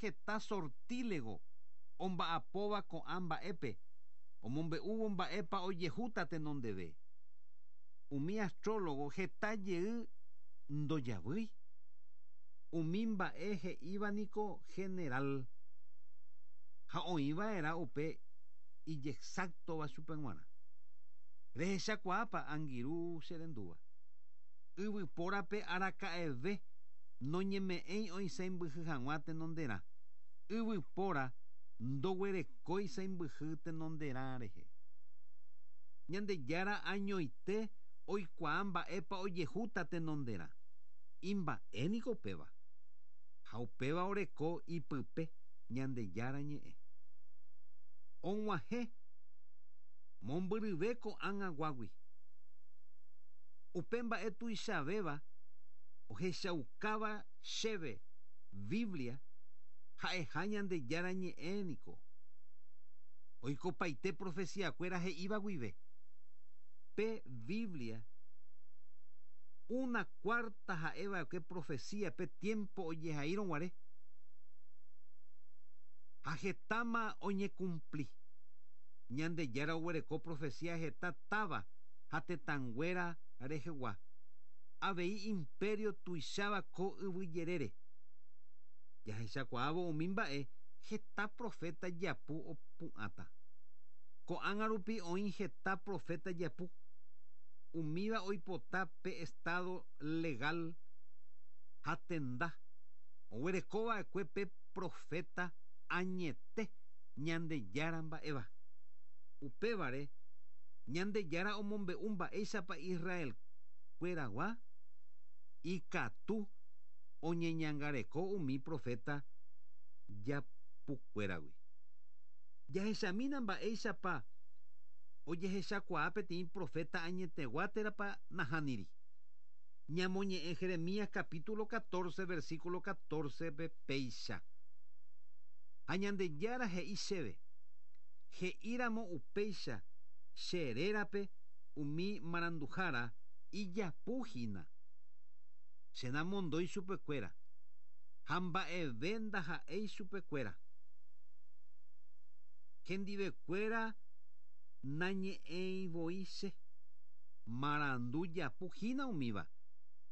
heta sortílego omba'apóva ko'ã mba'épe omombe'úvo mba'épa ojehúta tenondeve. Umi astrólogo heta jey ndojavýi. Umi mba'e he'íva niko general ha oĩva'erã upe ijexáctova chupe g̃uarã. Rehechakuaápa angirũ che rendúva. Yvypórape araka'eve noñeme'ẽi oisãimbyhy hag̃ua tenonderã. Yvypóra ndoguerekói sãimbyhy tenonderã rehe. Ñandejára añoite oikuaa mba'épa ojehúta tenonderã. Imba'e niko upéva. Ha upéva oreko ipype Ñandejára ñe'ẽ. Og̃uahẽ mombyryve ko'ág̃aguágui. Upe mba'e tuichavéva ohechaukáva chéve Biblia ha'eha Ñandejára ñe'ẽ niko. Oikopaite profecía-kuéra he'íva guive. Pe Biblia una cuarta ha'eva'ekue profecía pe tiempo ojehaírõ guare. Ha hetáma oñekumpli. Ñandejára oguereko profecía heta táva ha tetãnguéra rehegua, avei imperio tuicháva ko yvy jerére. Jahechakuaávo umi mba'e heta profeta japu opu'ãta. Ko'ág̃a rupi oĩ heta profeta japu. Umíva oipota pe estado legal ha tenda oguerekova'ekue pe profeta añete Ñandejára mba'éva. Upévare, Ñandejára omombe'u mba'éichapa Israel-kuéragua ikatu oñeñangareko umi profeta japukuéragui. Jahechamína mba'éichapa ojehechakuaa peteĩ profeta añetegua térãpa nahániri. Ñamoñe'ẽ Jeremías capítulo 14 versículo 14-pe péicha. Ha Ñandejára he'i chéve, He'íramo upéicha che rérape umi maranduhára ijapu hína. Che namondói chupekuéra, ha mba'eve ndaha'éi chupekuéra. Hendivekuéra nañe'ẽi voi che. Marandu japu hína umíva,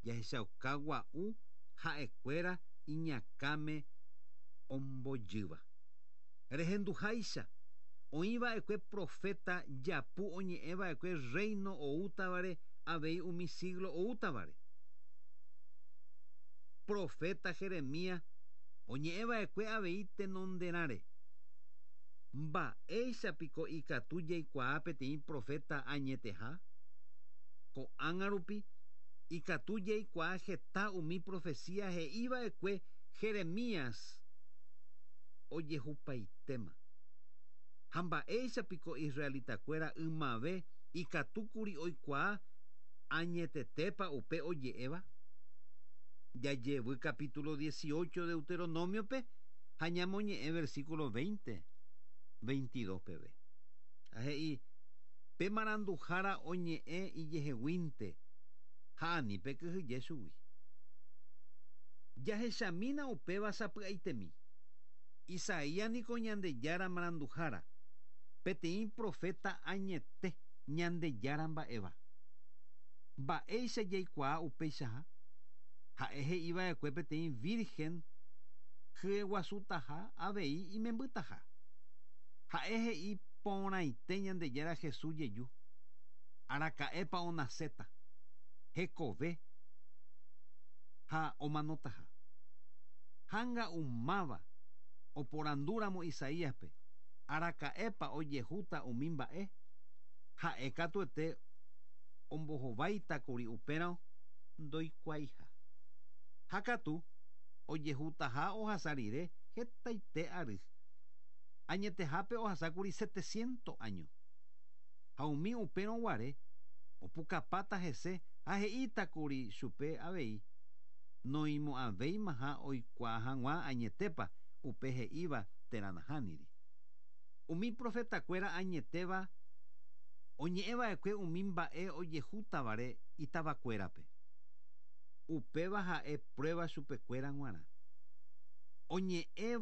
jahechauka gua'u ha'ekuéra iñakãme ombojýva. Rehenduháicha, oĩ va'ekue proféta japu oñe'ẽ va'ekue Rréino oútavare avei umi síglo oútavare. Proféta Jeremías oñe'ẽ va'ekue avei tenonderãre. Mba'éicha piko ikatu jaikuaa peteĩ proféta añeteha? Ko'ág̃a rupi ikatu jaikuaa heta umi profesía he'i va'ekue Jeremías ojehupaitéma. Ha mba'éicha piko israelitakuéra ymave ikatúkuri oikuaa añetetépa upe oje'éva? Jajevy capítulo 18 Deuteronomio-pe ha ñamoñe'ẽ versículo 20, 22 peve. Ha he'i, Pe maranduhára oñe'ẽ ijeheguínte ha ani pekyhyje chugui. Jahechamína upéva sapy'aitemi. Isaías niko Ñandejára maranduhára, peteĩ proféta añete Ñandejára mba'éva. Mba'éicha jaikuaa upeichaha? Ha'e he'i va'ekue peteĩ vírhen hyeguasutaha avei imembytaha. Ha'e he'i porãite Ñandejára Jesús jeju, araka'épa onaséta, hekove ha omanotaha. Hánga'umáva oporandúramo Isaíaspe araka'épa ojehúta umi mba'e, ha'e katuete ombohováitakuri upérõ ndoikuaaiha. Ha katu ojehutaha ohasa rire hetaite ary. Añetehápe ohasákuri setecientos áño. Ha umi upérõ guare opukapáta hese ha he'ítakuri chupe avei noĩmo'ãvéimaha oikuaa hag̃ua añetépa upe he'íva térã nahániri. Umi profetakuéra añetéva oñe'ẽ va'ekue umi mba'e ojehútavare itavakuérape. Upéva ha'e prueba chupekuéra g̃uarã. Oñe'ẽ.